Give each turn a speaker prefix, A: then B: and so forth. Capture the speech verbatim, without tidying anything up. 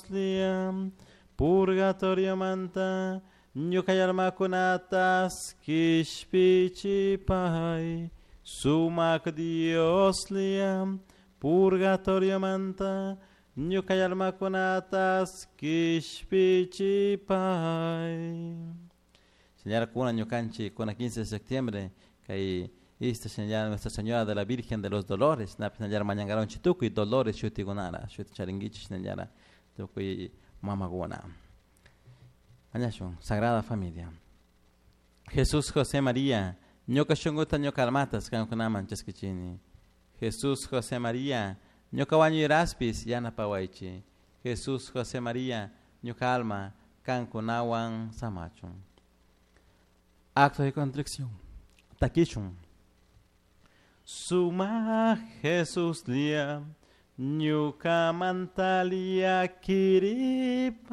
A: Dioslla, purgatoriomanta ñuka almakunatas kishpichipay. Sumak Dioslla, purgatoriomanta ñuka almakunatas kishpichipay. Señora kuna ñukanchik kuna quince de septiembre kay ista señora Nuestra Señora de la Virgen de los Dolores napi señora mañangaronchik tukuy Dolores shutikunara shuti charinkichik señora tukuy mamakuna. Mañashun Sagrada Familia. Jesús José María ñuka shunkuta ñuka almatas kankunaman chaskichini. Jesús José María ñuka wañuyraspis yanapawaychik. Jesús José María ñuka alma kankunawan samachun. Acto de contrición. Takishun. Suma Jesús lia ñuka mantalia kiripay.